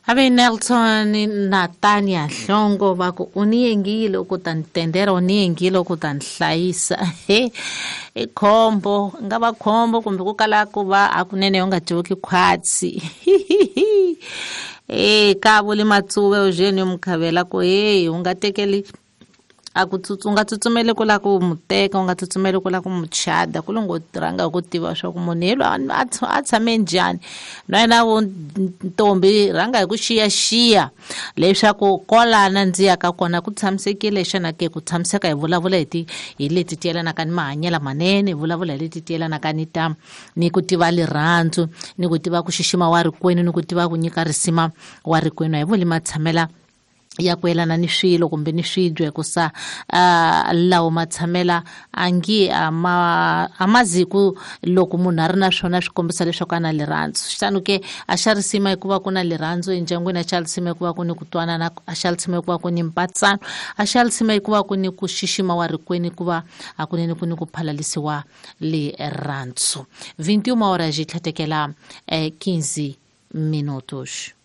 Ave Nelson na Tanya Hlongo va ku u ni yengile ku ta ni tendera, u ni yengile ku ta ni hlayisa. He, i khombo, nga va khombo kumbe ku kala ku va hakunene u nga dyoki khwatsi. E ka vuli Matsuve Eugene Mukhavela ku hey, u nga tekeli a ku u nga tsutsumeli ku lava ku mu teka, u nga tsutsumeli ku lava ku mu chada, ku longo rhanga hi ku tiva swa ku munhu yelo a tshame njhani. Na yena vo ntombi rhanga hi ku xiyaxiya leswaku kwalana ndzi yaka kona ku tshamisekile xana ke. Ku tshamiseka hi vulavula hi ti hi leti ti yelanaka ni mahanyelo manene, hi vulavula hi leti ti yelanaka ni ta ni ku tiva lirhandzu, ni ku tiva ku xixima wa rikwenu, ni ku tiva ku nyika risima wa rikwenu. A hi vuli matshamela ya ku yelana ni swilo kumbe ni swibye, hikusa lawo matshamela a nge a ma a ma zi ku loko munhu a ri na swona swi kombisa leswaku a na lirhandzu. Xitano ke a xa risima hikuva ku na lirhandzu endyangwini, a xa risima hikuva ku ni ku twanana, a xa risima hikuva ku ni mpatsano, a xa risima hikuva ku ni ku xixima wa rikwenu, hikuva hakunene ku ni ku phalalisiwa lirhandzu. 21 horas yi tlhatekela 15 minutos.